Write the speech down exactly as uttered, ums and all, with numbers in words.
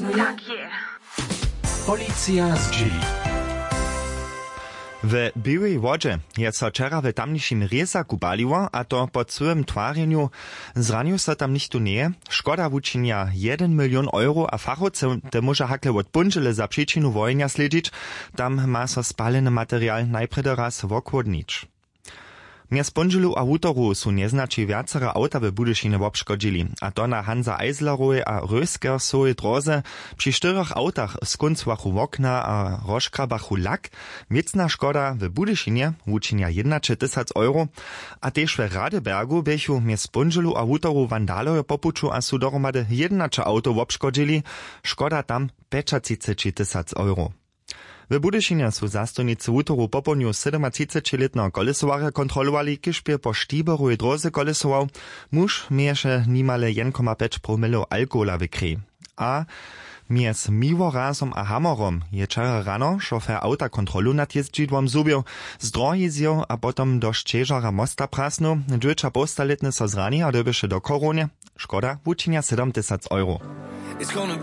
Jak je? Policija zdźěli. We Běłej Wodźe je so wčera w tamnišim rězaku paliło, a to po cyłym twarjenju. Zranił so tam nichtó njeje. Škoda wučinja jedyn milion euro a fachowcy te móža hakle wot póndźele za přičinu wohenja slědźić. Tam ma so spaleny material najprjedy raz wochłodnić. Mjez póndźelu a wutoru su njeznaći wjacere awta w Budyšinje wobškodźili, a to na Hansa Eislerowej a Röskersowej dróze. Při štyrjach awtach skóncowachu wokna a rozškrabachu lak. Wěcna škoda w Budyšinje wučinja jědnaćetysac euro. A tež w Radebergu běchu mjez póndźelu a wutoru wandalojo po puću a su dohromady jědnaće awtow wobškodźili. Škoda tam pjećatřicećitysac euro. W Budyšinje su zastojnicy wutoru popołdnju sydomatřicećilětneho kolesowarja kontrolowali, kiž bě po štiberowej dróze kolesował. Muž měješe nimale jedyn koma pjeć promilow alkohola w krej. A mjez Miłorazom a Hamorom je wčera rano šofer awta kontrolu nad jězdźidłom zhubił, z drohi zjěł a potom do šćežara mosta prasnył. Dźewjećapołstalětny so zrani a dyrbješe do chorownje. Škoda wučinja sydomtysac euro. It's gonna